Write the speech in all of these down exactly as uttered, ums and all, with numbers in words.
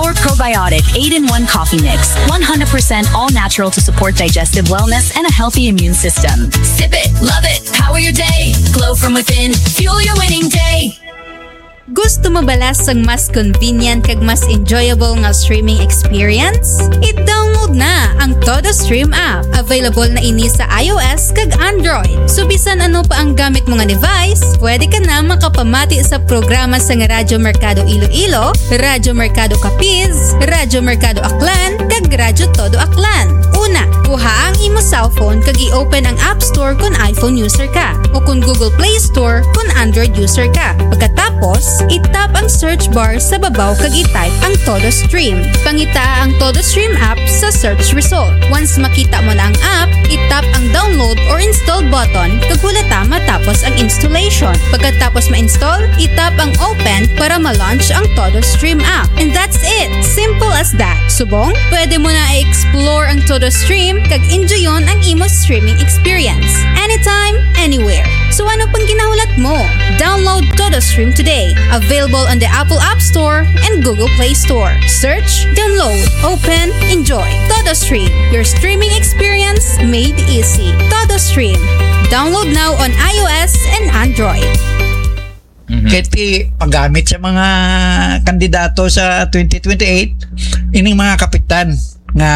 or probiotic eight-in-one coffee mix, one hundred percent all natural to support digestive wellness and a healthy immune system. Sip it, love it, power your day. Glow from within, fuel your winning day. Gusto mo bala sang mas convenient kag mas enjoyable nga streaming experience? I-download na ang Todo Stream app. Available na ini sa iOS kag Android. So bisan ano pa ang gamit mo nga device, pwede ka na makapamati sa programa sang Radyo Merkado Iloilo, Radyo Merkado Capiz, Radyo Merkado Aklan, kag Radyo Todo Aklan. Una, kuha ang imo cellphone kag i-open ang App Store kon iPhone user ka, o kon Google Play Store kon Android user ka. Pagkatapos, i-tap ang search bar sa babaw kag i-type ang Todo Stream. Pangitaa ang Todo Stream app sa search result. Once makita mo na ang app, i-tap ang download or install button kag wala ta matapos ang installation. Pagkatapos ma-install, i-tap ang open para ma-launch ang Todo Stream app. And that's it! Simple as that. Subong, pwede mo na i-explore ang Todo Stream kag enjoyon ang imo streaming experience. Anytime, anywhere. So ano pang ginahulat mo? Download Todo Stream today. Available on the Apple App Store and Google Play Store. Search, download, open, enjoy. Todo Stream, your streaming experience made easy. Todo Stream. Download now on iOS and Android. Mhm. Kay ti paggamit sa mga kandidato sa twenty twenty-eight, ining mga kapitan nga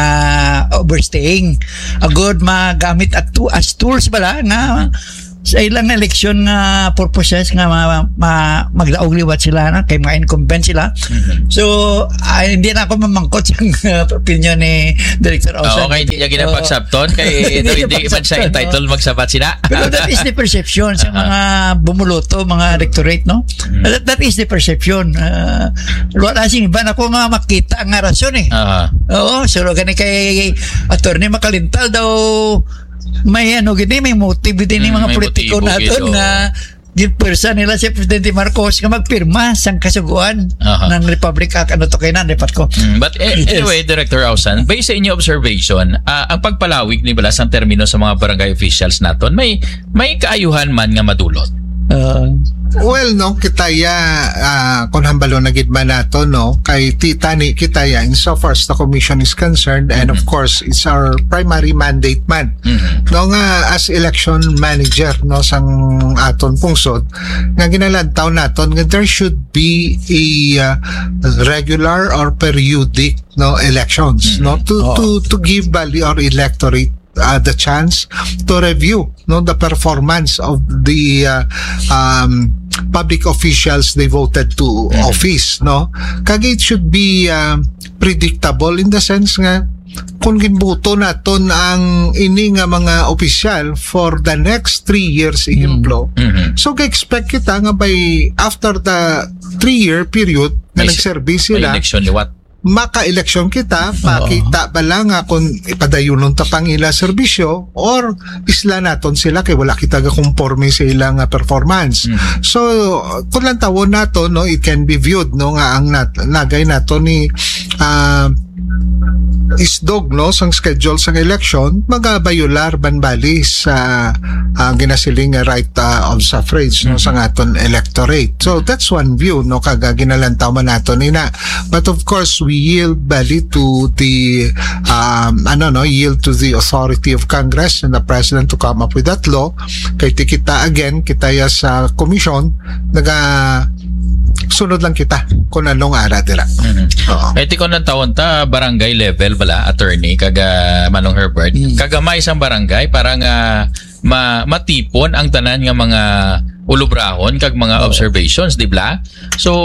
overstaying, agod magamit at tu- as tools bala nga sa ilang election nga purposes nga ma, ma, magdaog liwat sila na kay mga incumbent sila. Mhm. So, ah, hindi na ako mamangkot sa opinion ni Director Osan. Okay, hindi niya ginapagsabton kay hindi man siya entitled magsabat sila. Pero that is the perception sa mga bumuloto, mga electorate, no? Mm. That, that is the perception. Ah, wala sing iban ako nga makita nga rason eh. Oo, so gani kay Attorney Makalintal daw may ano gini, may motive gini mga politiko naton nga ginpwersa nila si Presidente Marcos nga magpirma sang kasugoan ng Republic Act. Ano to kay nan, dapat ko. Mm, but eh, anyway, Director Ausan, based sa inyo observation, ah, ang pagpalawig ni bala sang termino sa mga barangay officials naton, may may kaayuhan man nga madulot? Uh, well, no, kita ya, ah, kung hambalo na gid man nato, no, kay ti tani kita ya, in so far as the commission is concerned, and of course, it's our primary mandate man, no, nga as election manager, no, sang aton pungsod, nga ginalantaw naton nga there should be a, ah, regular or periodic, no, elections, no, to to to give bali our electorate uh, the chance to review, no, the performance of the, uh, um, public officials they voted to office, no. Kag it should be, uh, predictable in the sense nga kung ginbuto naton ang ini nga mga opisyal for the next three years, ehemplo, so ga-expect kita nga by after the three-year period nga nagserbi sila, election liwat. Maka-eleksyon kita, makita bala nga kung ipadayunon ta pang ila serbisyo or isla naton sila kay wala kita gakomporme sa ila nga performance. So, kung lantawon nato, no, it can be viewed, no, nga ang nat- nagay nato ni, ah, isdog, no, sang schedule sang election, magabayular banbali sa, ah, ginasiling nga right, ah, of suffrage, no, sang aton electorate. So that's one view, no, kag, ah, ginalantaw man nato nina. But of course, we yield bali to the, um, ano, no, yield to the authority of Congress and the President to come up with that law. Kay ti kita, again, kita ya sa komisyon, naga sunod lang kita kung anong ara dira. Oo. Kay ti kung ang tawon ta, barangay level bala, attorney, kag, ah, Manong Herbert, kagamay sang barangay para nga ma- matipon ang tanan nga mga ulubrahon kag mga observations, di bala? So,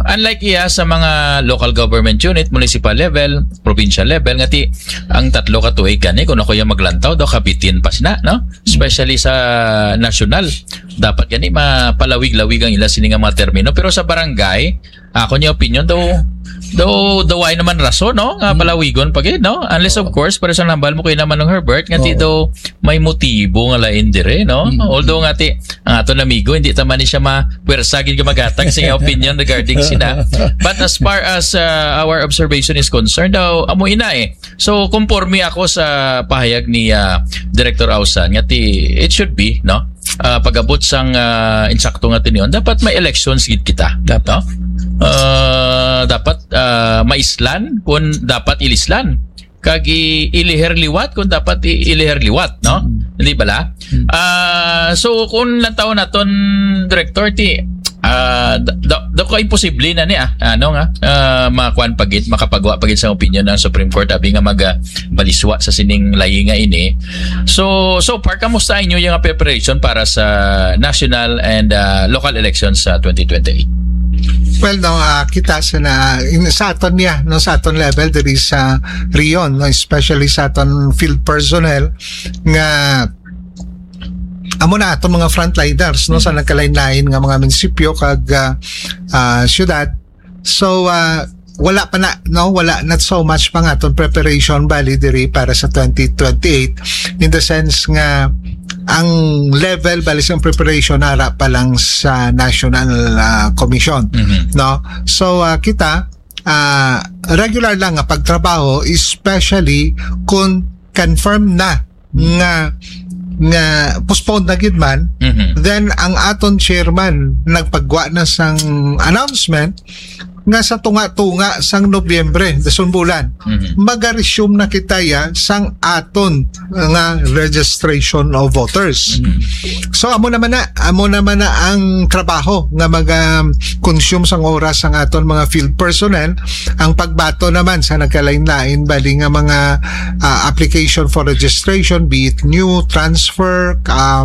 unlike iya sa mga local government unit, municipal level, provincial level, nga ti ang tatlo ka tuig gani, kung ako yung maglantaw, daw kabitin pa sina, no? Especially sa national, dapat gani mapalawig-lawig ang ila sini nga mga termino. Pero sa barangay, ako niya opinion, daw, daw, daw ay naman rason, no? Nga palawigon pa gid, no? Unless, of course, para sa nambal mo kayo naman ng Herbert, nga ti daw may motibo nga lain dire, no? Although nga ti, ang aton amigo, hindi ta man ni siya ma-, pwersa gid nga maghatag sa iyang opinion regarding sina. But as far as, uh, our observation is concerned, daw, amo ina eh. So, conforme ako sa pahayag ni, uh, Director Ausan, nga ti, it should be, no? Uh, pag-abot sang, uh, insakto nga tinion, dapat may elections gid kita, no? Uh, dapat ah, maislan kung dapat ilislan, kag i-, iliher liwat kung dapat i-, iliher liwat, no? Mm. Hindi bala? Mm. Ah, so, kung lantaw naton, Director, ti, ah, da, da, da ko imposible na ni, ah, ano nga, ah, makuan pa gid, makapagwa pa gid sa opinion ang Supreme Court, abi nga maga-, maliswa sa sining layi nga ini. So, so far, kamusta inyo yung preparation para sa national and, ah, local elections sa twenty twenty-eight? Well, no, ah, kita sa na, in, sa aton niya, no, sa aton level diri sa Rion, no, especially sa aton field personnel nga amo na aton mga frontliners, no, sa nagkalain-lain nga mga munisipyo kag, ah, ah, syudad. So, ah, wala pa na, no, wala, not so much pa nga aton preparation bali diri para sa twenty twenty-eight, in the sense nga ang level bali sa preparation ara pa lang sa National, ah, Commission, Mhm. no? So, ah, kita, ah, regular lang nga pagtrabaho, especially kung confirm na nga, nga postponed na gid man, Mhm. then ang aton chairman nagpagwa na sang announcement nga sa tunga-tunga sang Nobyembre, dason bulan, Mhm. maga-resume na kita ya sang aton nga registration of voters. Mhm. So, amo naman na, amo naman na ang trabaho nga maga-consume sang oras sang aton mga field personnel, ang pagbato naman sa nagkalain-lain bali nga mga, ah, application for registration, be it new, transfer, ah,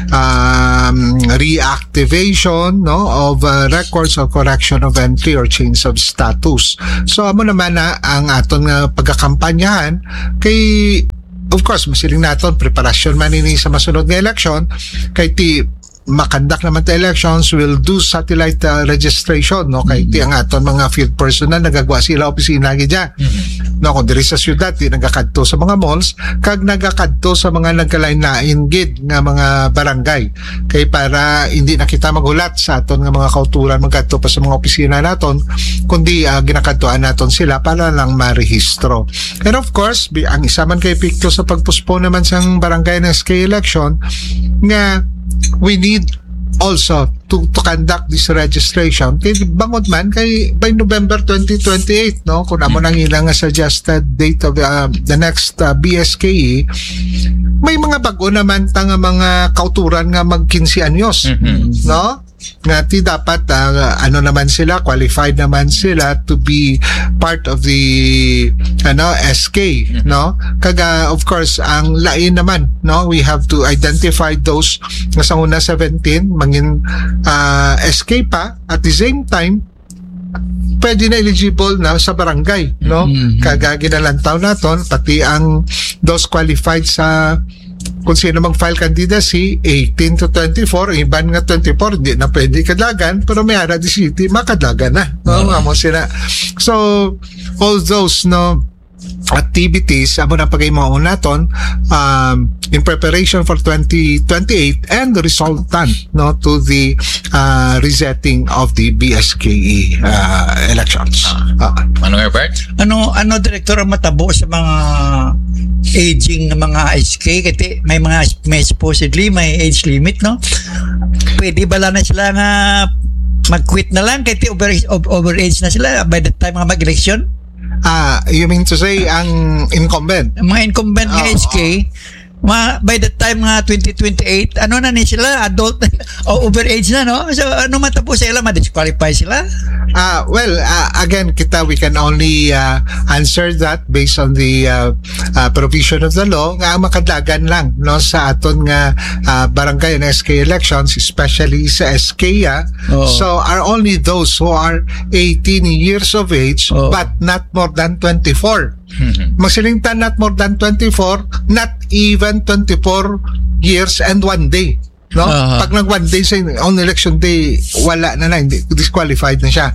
um, reactivation, no, of, uh, records or correction of entry or change of status. So, amo naman na ang aton nga pagkakampanyahan kay, of course, masiling naton, preparasyon man ini sa masunod nga eleksyon, kay ti makandak naman ta elections, will do satellite, uh, registration, no? Kay ti Mm. ang aton mga field personnel nagagwa sila opisina gid dyan. Mm. No, kung diri sa syudad, di nagakadto sa mga malls, kag nagakadto sa mga nagkalain-lain gid nga mga barangay. Kay para hindi na kita maghulat sa aton nga mga kauturan magkadto pa sa mga opisina naton, kundi, ah, ginakadtuan naton sila para lang marehistro. And of course, bi-, ang isa man kay epekto sa pag-postpone naman sang barangay and S K election nga we need also to, to conduct this registration. Kay bangod man kay by November twenty twenty-eight, no, kung amo nang ilang nga suggested date of, uh, the next, uh, B S K E, may mga bag-o naman ta nga mga kauturan nga mag quince anyos, Mhm. no? Nga ti dapat, ah, ano naman sila, qualified naman sila to be part of the, ano, S K, Mhm. no? Kaga, of course, ang lain naman, no? We have to identify those nga sa una seventeen, mangin, ah, S K pa, at the same time, pwede na eligible na sa barangay, no? Mhm. Kaga ginalantaw naton, pati ang those qualified sa kung sino mag-file candidacy, eighteen to twenty-four, iban nga twenty-four, hindi na pwede kadlagan, pero may ara di city, makadlagan na. No? Ah. Amo sila. So, all those, no, activities, amo na pag-imaon naton, um, in preparation for twenty twenty-eight and resultant, no, to the, uh, resetting of the B S K E, uh, elections. Ah. Ah. Manong Herbert? Ano, ano, Director, ang matabo sa mga aging nga mga S K? Kasi may mga, may supposedly may age limit, no? Pwede bala na sila nga mag-quit na lang kasi over, over, overage na sila by the time nga mag-election? Ah, you mean to say ang incumbent? Ang mga incumbent nga Oo. S K, ma-, by the time nga twenty twenty-eight, ano na ni sila? Adult o overage na, no? So, ano matabo sa ila? Ma-disqualify sila? Ah, well, ah, again, kita, we can only, ah, answer that based on the, ah, ah, provision of the law nga ang makadlagan lang, no, sa aton nga, ah, barangay and S K elections, especially sa S K, ah. Oo. So, are only those who are eighteen years of age Oo. but not more than twenty-four. Mhm. Magsiling ta not more than twenty-four, not even twenty-four years and one day. No? Aha. Pag nag one day sa on election day, wala na na, hindi, disqualified na siya.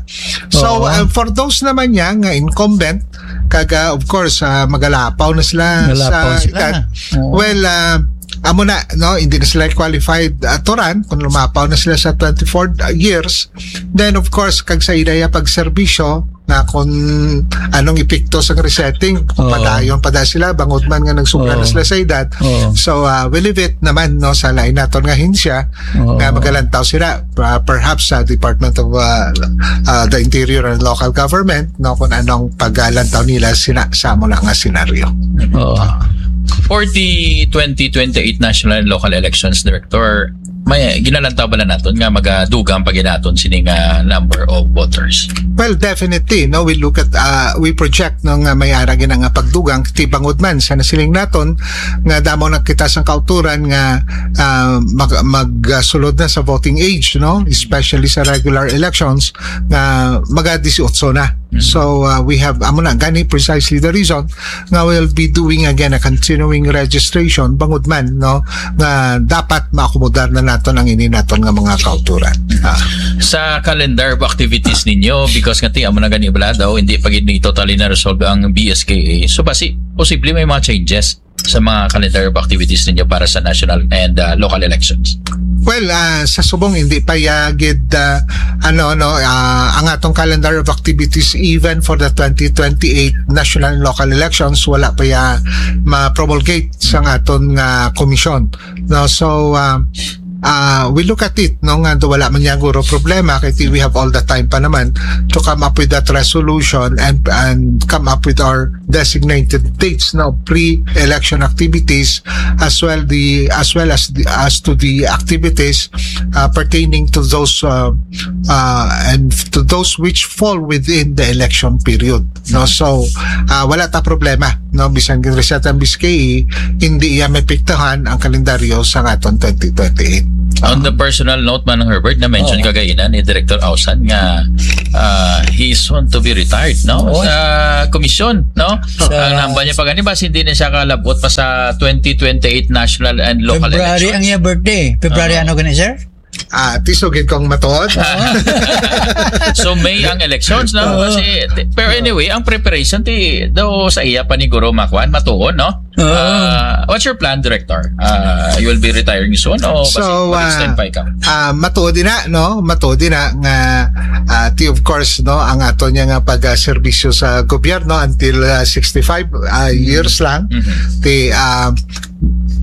So, Oo. uh, for those naman niya nga incumbent, kaga, of course, ah, magalapaw na sila Magalapaw sa sila. edad. Oo. Well, ah, amo na, no, hindi na sila qualified, uh, to run kung lumapaw na sila sa twenty-four years. Then, of course, kag sa ila ya pagserbisyo, nga kung anong epekto sa resetting, kung Oo. padayon pa da sila, bangod man nga nagsubra na Oo. sila sa edad. Oo. So, uh, we leave it naman, no, sa lain naton nga ahensya Oo. nga magalantaw sila, uh, perhaps sa Department of, uh, uh, the Interior and Local Government, no, kung anong paglantaw nila sina, sa amo na nga senaryo. Oo. For the twenty twenty-eight national and local elections, Director, may ginalantaw bala naton nga magadugang pa gid naton sini nga number of voters? Well, definitely, no, we look at, uh, we project, no, nga may ara gina nga pagdugang, ti bangod man sa nasiling naton nga damo na kita sang kauturan nga, uh, mag, magsulod na sa voting age, no, especially sa regular elections nga maga disiotso na. So, uh, we have, amo na gani, precisely the reason nga we'll be doing again a continuing registration, bangod man, no, nga dapat maakomodar na naton ang ini naton nga mga kauturan. Ah. Sa calendar of activities ninyo, because nga ti amo na gani bala daw, hindi pa gid ni totally na resolve ang B S K A. So, basi posible may mga changes sa mga calendar of activities ninyo para sa national and, uh, local elections? Well, ah, sa subong hindi pa ya gid, ah, ano, no, ah, ang atong calendar of activities even for the twenty twenty-eight national and local elections, wala pa ya ma-promulgate sa aton nga komisyon, no? So, ah, ah, we look at it, no, nga do wala man ya guro problema kay ti we have all the time pa naman to come up with that resolution and and come up with our designated dates, no, pre-election activities, as well the, as well as the, as to the activities, uh, pertaining to those, uh, uh, and to those which fall within the election period, no? So, uh, wala ta problema, no, bisan gin-reset ang B S K A, hindi iya maapektahan ang kalendaryo sa aton twenty twenty-eight. On the personal note, Manong Herbert, na-mention Oo. kagainan ni Director Ausan nga, uh, he's soon to be retired, no? Oo. Sa komisyon, no? Sa Ang namba niya pa gani ba, hindi na siya kalabot pa sa twenty twenty-eight national and local February elections? Ang iya birthday. February Oo. ano gani, sir? Ah, tisugid kong matuod. So, May ang elections, no? Oo. Kasi, pero anyway, ang preparation ti daw sa iya pa ni Guro Makuan, matuon, no? Oo. Ah, what's your plan, Director? Ah, you will be retiring soon o So, mag-extend ah, pa ikaw? Ah, matuod din na, no? Matuod din na nga, ah, ti, of course, no, ang ato niya nga pagserbisyo sa gobyerno until, ah, sixty-five, ah, years lang. Mhm. Ti, ah,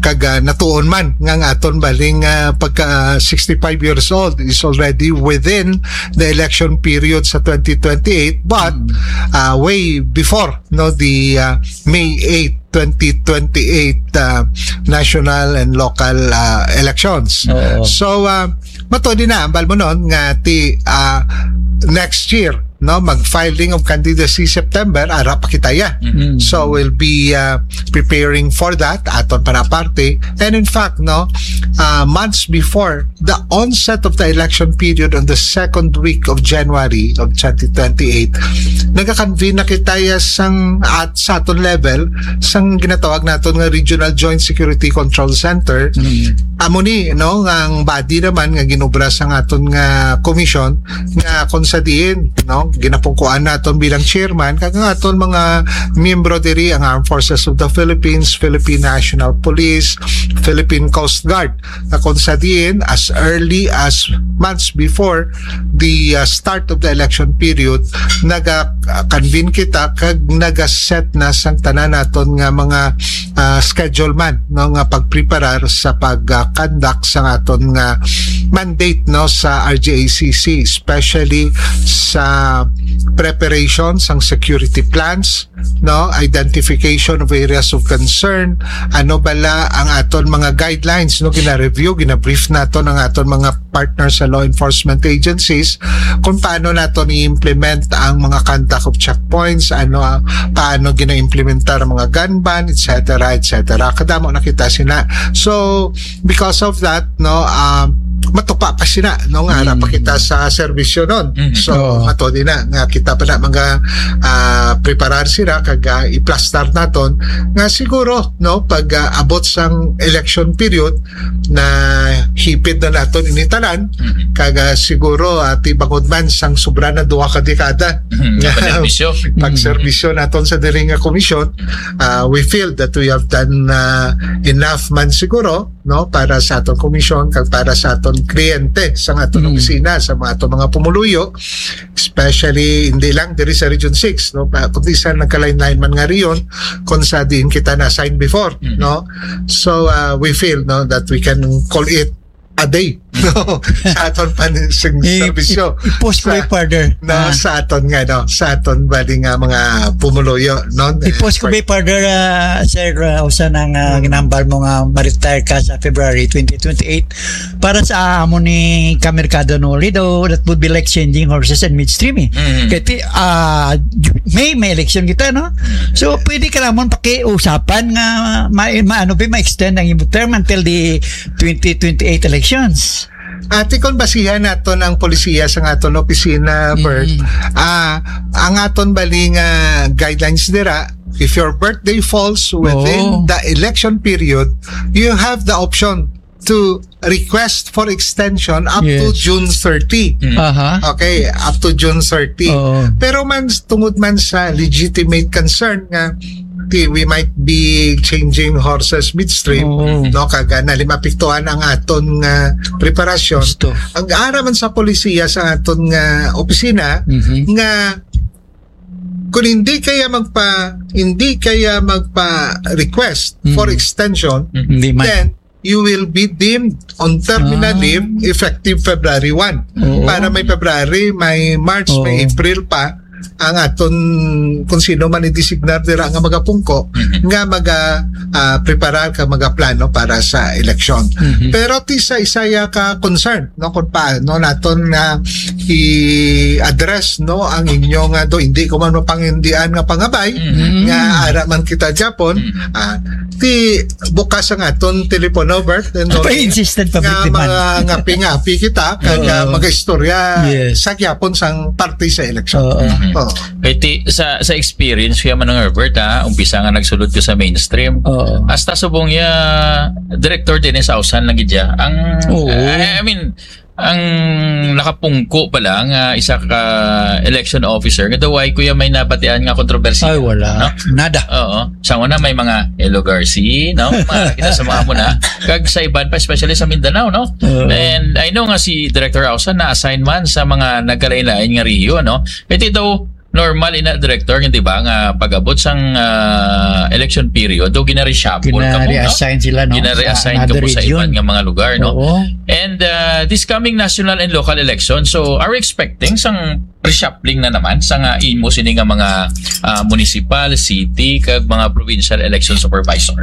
kag, ah, natuon man nga ang aton baling, ah, pagka sixty-five years old is already within the election period sa twenty twenty-eight, but, ah, way before, no, the, ah, May eight, twenty twenty-eight, ah, national and local, ah, elections. Oo. So, ah, matuod din na, ambal mo nun, nga ti, ah, next year, no, mag-filing of candidacy September, ara pa kita ya. Mm. So, we'll be, ah, preparing for that, aton pa na parte. And in fact, no, ah, months before the onset of the election period on the second week of January of twenty twenty-eight, nagakonvene na kita ya sang, at sa aton level, sang ginatawag naton nga Regional Joint Security Control Center. Mm. Amo ni, no, nga ang body naman nga ginobra sang aton nga komisyon, nga kung sa diin, no, ginapungkuan naton bilang chairman, kag ang aton mga miyembro diri, ang Armed Forces of the Philippines, Philippine National Police, Philippine Coast Guard, na kung sa diin, as early as months before the, uh, start of the election period, naga-convene kita kag naga-set na sang tanan naton nga mga, uh, schedule man, no, nga pagpreparar sa pag, uh, conduct sa aton nga mandate, no, sa R J A C C, especially sa preparation sang security plans, no, identification of areas of concern, ano bala ang aton mga guidelines, no, gina-review, gina-brief naton ang aton mga partner sa law enforcement agencies kung paano naton i-implement ang mga conduct of checkpoints, ano, ah, paano gina-implementar ang mga gun ban, et cetera, et cetera. Kadamo na kita sina. So, because of that, no, um, matupa pa sila, no, nga ara pa Mm. kita sa serbisyo nun. Mm. So, Oo. Ato din na nga kita pa na mga, ah, preparar sila kag, ah, iplastar naton nga siguro, no, pag, ah, abot sang election period na hipit na naton ini tanan, Mm. kag, ah, siguro, ah, tibangod man sang sobra na duha ka dekada Mm. nga pagserbisyo. Pagserbisyo naton sa diri nga komisyon, ah, we feel that we have done, ah, enough man siguro, no, para sa aton komisyon kag para sa aton kliyente sa aton Mm. opisina, sa mga aton mga pumuluyo, especially hindi lang diri sa Region six, no, pa, kundi sa nagkalain-lain man nga rehiyon kung sa diin kita na-assign before, Mm. no? So, uh, we feel, no, that we can call it a day, no, sa aton pa sing I- serbisyo. I- i-post ko Sa- further. No, Ah. sa aton nga, no, sa aton bali nga mga pumuluyo, no? I-post ko Eh, ba further, ah, sir, ah, usa na nga Mm. ginambal mo nga ma-retire ka sa February twenty twenty-eight. Para sa amo ni Kamerkado Noli daw, that would be like changing horses in midstream, eh. Mm. Kaya ti-, ah, may, may election kita, no? Mm. So, pwede ka naman pakiusapan nga ma-, ma-, ano ba, ma-extend ang imong term until the twenty twenty-eight elections. Ati, kung basihan naton ang polisiya sa aton opisina, Bert, Mm. ah, ang aton bali nga guidelines dira, if your birthday falls within Oo. the election period, you have the option to request for extension up to Yes. June thirty. Mm. Aha. Okay, up to June thirty. Oo. Pero man, tungod man sa legitimate concern nga ti-, we might be changing horses midstream, Oo. no, kag, ah, nalimapiktuhan ang aton nga preparasyon. Gusto. Ang ara man sa polisiya sa aton nga opisina Mhm. nga kung hindi kaya magpa-, hindi kaya magpa-request for Mhm. extension, Mhm. Hindi man. then you will be deemed on terminal Ah. leave effective February one. Oo. Para may February, may March, may Oo. April pa ang aton kung sino man i-designar dira nga magapungko Mhm. nga maga, ah, preparar ka magaplano para sa eleksyon. Mhm. Pero ti sa isa ya ka concern, no, kung paano naton nga i-address, no, ang inyo nga do, hindi ko man mapangindian nga pangabay, Mhm. nga ara man kita Japon, Mhm. ah, ti bukas ang aton telepono, Bert, and Ay, pa-insistent pa, nga Bert, man. mga ngapi-ngapi kita, kag, Oo. ah, mag-istorya Yes. sa gyapon sang parte sa eleksyon. Oo. Mhm. Oo. Kay ti-, sa, sa experience ko man, Herbert, ha, umpisa nga nagsulod ko sa mainstream. Oo. Hasta subong ya, Director Dennis Ausan lang gid ya. Ang, Oo. I, I mean, ang nakapungko pa lang, ah, isa ka election officer, nga daw ay kuya may nabatian nga kontrobersiya. Ay, wala. No? Nada. Oo. Sa una may mga Elo Garci, no? Mga kita sa mga muna. Kag sa iban pa, especially sa Mindanao, no? Oo. And I know nga si Director Ausan na-assign man sa mga nagkalain-lain nga rehiyon, no? Ito daw, normal ina, Director, di ba, nga pag-abot sang, ah, election period, do gina-reshuffle ka mo, no? Gina-reassign sila, no? Gina-reassign Sa ka mo another sa iban region. nga mga lugar, no? Oo. And, ah, this coming national and local election, so are we expecting sang reshuffling na naman sa nga imo sini nga mga, ah, municipal, city, kag mga provincial election supervisor?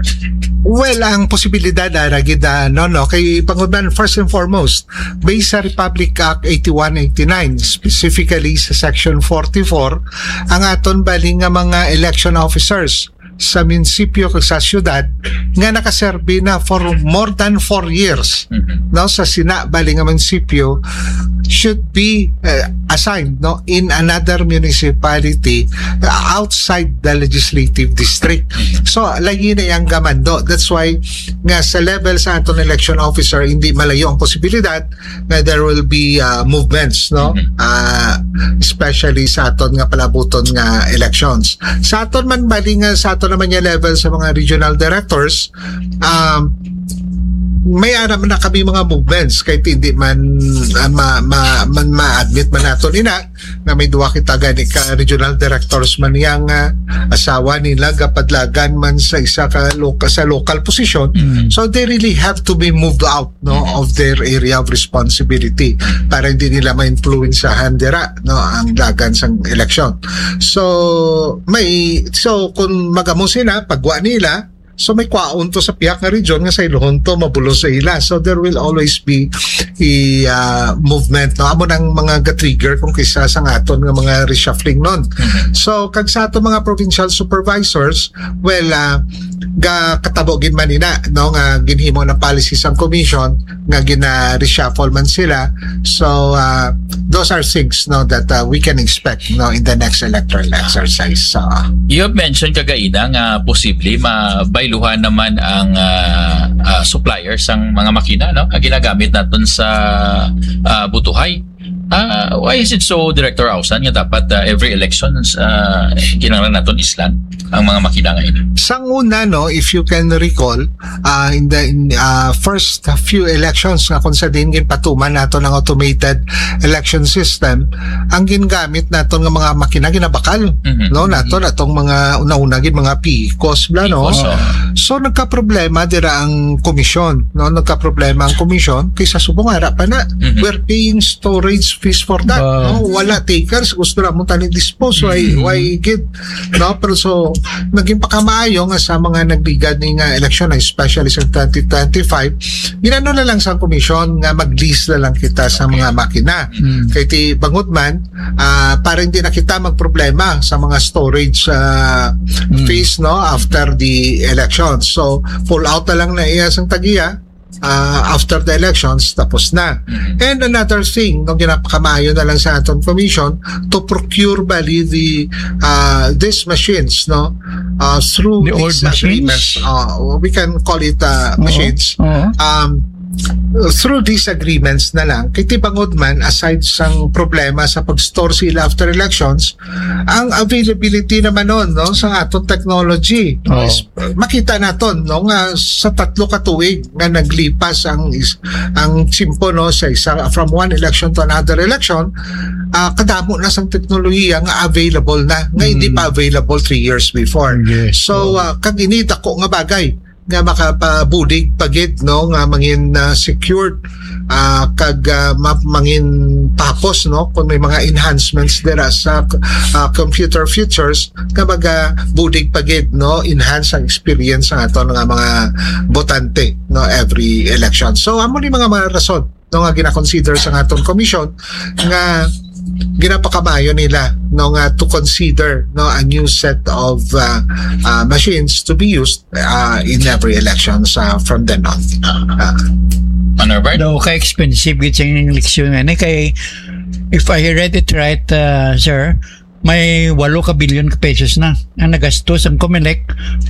Well, ang posibilidad, ah, ra gid, ah, no, no, kay panguban, first and foremost, based sa Republic Act eighty-one eighty-nine, specifically sa Section forty-four, ang aton bali nga mga election officers sa munisipyo kag sa syudad nga nakaserbi na for more than four years, Mhm. no, sa sina bali nga munisipyo should be, uh, assigned, no, in another municipality, uh, outside the legislative district. Mhm. So, lagi na yang gamando. That's why nga sa level sa aton election officer, hindi malayo ang posibilidad nga there will be, uh, movements, no? Mhm. Uh, especially sa aton nga palabuton nga elections. Sa aton man bali nga sa aton naman nga level sa mga regional directors, um, may ara man na kami mga movements kay hindi man, uh, ma, ma, man ma-admit man naton ina na may duwa kita gani ka regional directors man yang, uh, asawa nila gapadlagan man sa isa ka loka-, sa local position. Mm. So they really have to be moved out, no, of their area of responsibility para hindi nila ma-influensyahan dira, no, ang dagan sang eleksyon. So, may, so kung magamo sila, pagwa nila, so may kwaon to sa pihak nga region nga sa iluhon to mabulos sa ila. So there will always be a, uh, movement, no? Amo nang mga ga-trigger kung kisa sa aton nga mga reshuffling nun. Mhm. So, kag sa aton mga provincial supervisors, well, uh, Ga katabo gid man ina, no, nga ginhimo ng policy sang commission nga gina-reshuffle man sila. So, uh, those are things, no, that uh, we can expect, no, in the next electoral exercise. So, You have mentioned kagaina nga posible mabayluhan naman ang ah, ah, supplier sang mga makina, no, nga ginagamit naton sa ah, Butuhay. Ah, why is it so, Director Ausan, nga dapat ah, every elections ah, kinahanglan naton islan ang mga makina nga ini? Sang una, no, if you can recall, uh, in the in, uh, first few elections nga kung sa din ginpatuman nato ng automated election system, ang gingamit nato nga mga makina ginabakal, Mhm. no, nato natong mga una-una gid mga picos bla, no. Picos, oh. So nagka-problema dira ang komisyon, no, nagka-problema ang komisyon kaysa subong ara pa na Mhm. we're paying storage fees for that, Wow. no, wala takers, gusto na mo tani dispose, why, Mhm. why gid, no? Pero so naging pakamaayo nga sa mga nagligad ni nga eleksyon, especially sa twenty twenty-five, ginano na lang sa komisyon nga mag-lease na lang kita sa mga makina. Mm. Kay ti bangod man, ah, para hindi na kita magproblema sa mga storage ah, Mm. fees, no, after the election. So pull out na lang na iya sang tagiya ah, after the elections, tapos na. Mhm. And another thing, no, ginapakamaayo na lang sa aton commission to procure bali the uh, these machines, no, uh, through The old these agreements. machines? Uh, we can call it uh, Oo. machines. Oo. Um, through these agreements na lang, kay ti bangod man, aside sang problema sa pag-store sila after elections, ang availability naman nun, no, sa aton technology, no, Oo. is, makita naton, no, nga sa tatlo ka tuig nga naglipas ang is, ang tiyempo, no, sa isa, from one election to another election, ah, kadamo na sang teknolohiya nga available na, nga hindi Mm. pa available three years before. Yes. So, ah, kag ini dako nga bagay nga makapabulig pa gid, no, nga mangin ah, secured, ah, kag ah, ma- mangin papos, no, kung may mga enhancements dira sa ah, computer features nga magabulig pa gid, no, enhance ang experience sa aton nga mga botante, no, every election. So amo ni mga mga rason, no, nga gina-consider sa aton commission nga ginapakamayo nila, no, nga to consider, no, a new set of uh, uh, machines to be used uh, in every elections uh, from then on. Uh, Honorable? Daw ka expensive gid sing eleksyon nga ni kay, if I read it right, uh, sir, may walo ka bilyon ka pesos na ang nagastos ang Comelec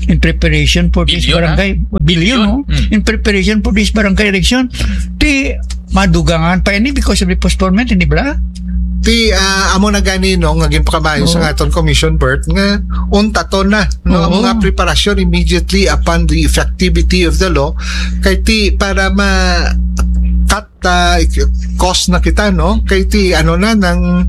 in preparation for this Bilyon, ha? barangay billion, no? Mm. In preparation for this barangay election. Ti madugangan pa ini because of the postponement, hindi ba? Ti ah, amo na gani, no, nga ginpakamayo sa Oo. aton commission, Bert, nga untaton na, no, ang Oo. mga preparasyon immediately upon the effectivity of the law, kay ti para ma cut ah, cost na kita, no, kay ti ano na nang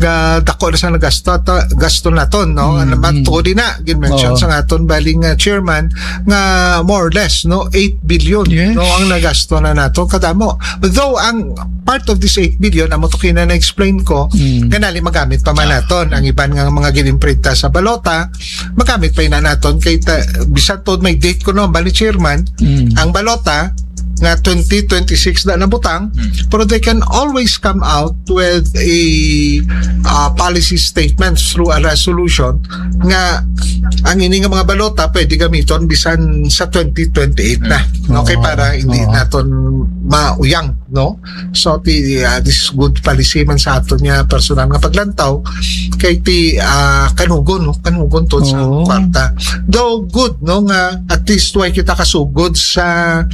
ga dako na sa nagasto ta, gasto naton, no. Mm, Ano man, mm. tuod na gin-mention Oo. sa aton baling ah, chairman nga more or less, no, eight billion, Yes. no, ang nagasto na nato kadamo. Though ang part of this eight billion, amo to kina na-explain ko, Mm. kanali magamit pa man Ah. naton ang iban nga mga ginimprinta sa balota, magamit pa ina naton kay ta, bisan to may date ko no, bali chairman, Mm. ang balota nga twenty twenty-six na nabutang, Mm. pero they can always come out with a uh, policy statement through a resolution nga ang ini nga mga balota pwede gamiton bisan sa twenty twenty-eight na. Mm. Okay, Oo. para hindi Oo. naton mauyang, no? So ti uh, this is good policy man sa aton nga personal nga paglantaw kay ti uh, kanugon, no, kanugon to sa Oo. kwarta. Though good, no, nga at least way kita kasugod sa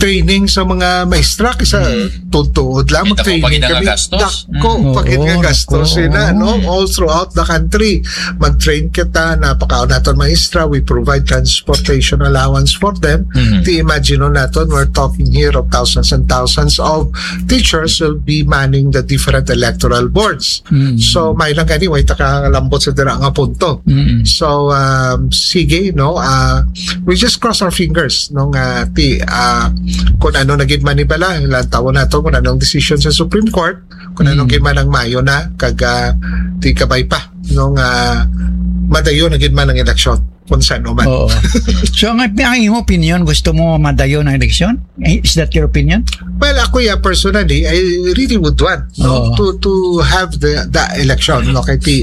training sa mga maestra kisa Mm. tuod-tuod lang Kita ko mag-training pag ina nga kami. gastos. Dako Mm. pag ina Oo, gastos oo, sila, oo. No, all throughout the country mag-train kita, napakaon naton maestra, we provide transportation allowance for them. Mhm. Ti imagine naton, we're talking here of thousands and thousands of teachers will be manning the different electoral boards. Mm. So may lang gani way ta kalambot sa dira nga punto. Mm. So um, sige, no, uh, we just cross our fingers, no, nga ti uh, kung ano na gid man ni bala, lantawon nato kung anong decision sa Supreme Court, kung anong Mm. gid man ang mayo na kag uh, ti kabay pa, no, nga madayon na gid man ang eleksyon. kung saan man. Oo. So, ang, ang imo opinion, gusto mo madayon ang eleksyon? Eh, is that your opinion? Well, ako, yeah, personally, I really would want, no, Oo. to, to have the, the election, no? Kay ti,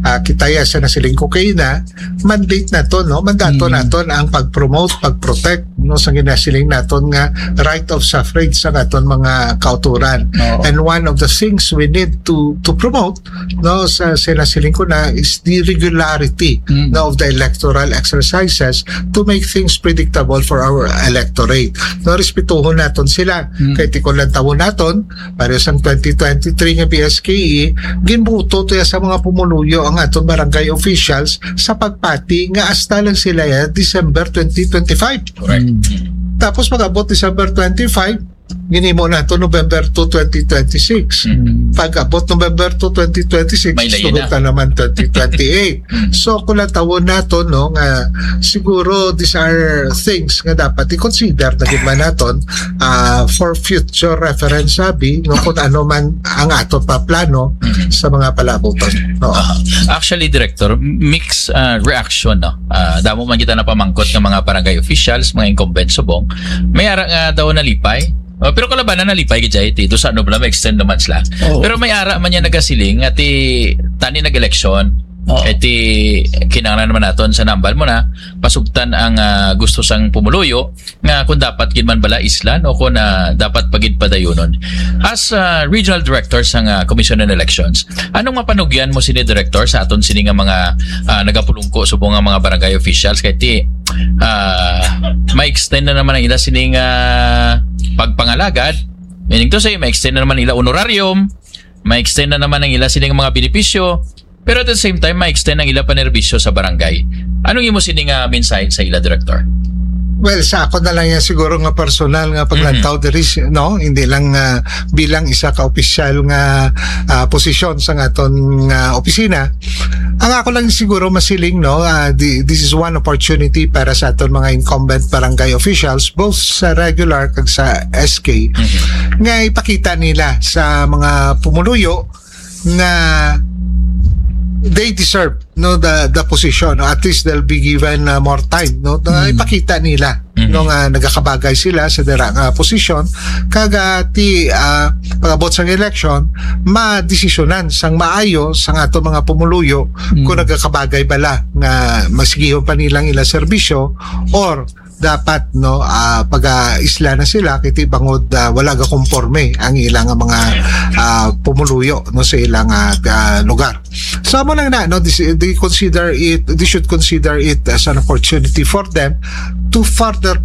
ah, kita ya sa nasiling ko kay na, mandate naton, no? Mandato Mm. naton ang pag-promote, pag-protect, no, sa ginasiling naton nga right of suffrage sa aton mga kauturan. Oo. And one of the things we need to, to promote, no, sa, sa nasiling ko na is the regularity, Mm. no, of the electoral exercises to make things predictable for our electorate. No, respetuhon naton sila. Mm. Kay ti kung lantawon naton, pareho sang twenty twenty-three nga B S K E, ginbuto to ya sa mga pumuluyo ang aton barangay officials sa pagpati nga hasta lang sila ya December twenty twenty-five. Correct. Mm. Tapos pag-abot December twenty-five, ginhimo nato November two, twenty twenty-six. Mm. Pag-abot November two, twenty twenty-six, May layo sugot na. na naman twenty twenty-eight. Mm. So, kung natawon nato, no, nga siguro these are things nga dapat i-consider na gid man naton, ah, for future reference, sabi, no, kung ano man ang ato pa plano Mm. sa mga palabuton, no? Aha. Actually, Director, mixed, ah, reaction, no? Ah, damo man kita napamangkot nga mga barangay officials, mga incumbent subong. May ara nga daw nalipay. Oh, pero kalabanan nalipay gid jay ti. Doon sa ano pala, may extend naman sila. Oo. Pero may ara man niya nagasiling nga ti tani nag-eleksyon. Oo. Eh, ti kinahanglan naman naton sa nambal mo na pasugtan ang, ah, gusto sang pumuluyo nga kung dapat gid man bala islan o kung, ah, dapat pa gid padayonon. As, ah, regional director sang, ah, Commission on Elections, anong mapanugyan mo sini, Director, sa aton sini nga mga, ah, nagapulungko subong nga mga barangay officials kay ti, ah, ma-extend na naman ang ila sini nga pagpangalagad, meaning to say, ma-extend na naman ila honorarium, ma-extend na naman ang ila sini nga mga benepisyo, pero at the same time, ma-extend ang ila panerbisyo sa barangay. Anong imo sini nga mensahe sa ila, Director? Well, sa ako na lang yan siguro nga personal nga paglantaw Mhm. diri, no? Hindi lang, ah, bilang isa ka opisyal nga, ah, posisyon sa aton nga opisina. Ang ako lang siguro masiling, no, ah, di, this is one opportunity para sa aton mga incumbent barangay officials, both sa regular kag sa S K, Mhm. nga ipakita nila sa mga pumuluyo nga they deserve, no, the, the position, no? At least they'll be given, uh, more time, no, na Mm. ipakita nila, Mm. no, nga nagakabagay sila sa dira nga posisyon, kag, uh, ti, uh, pag-abot sang election, madesisyonan sang maayo sang ato mga pumuluyo Mm. kung nagakabagay bala nga masigihon pa nilang ila serbisyo or dapat, no, ah, pag-aisla na sila kay ti bangod, ah, wala gakomporme ang ilang mga, ah, pumuluyo, no, sa ilang, ah, ah, lugar. So, amo lang na, no, this, they consider it, they should consider it as an opportunity for them to further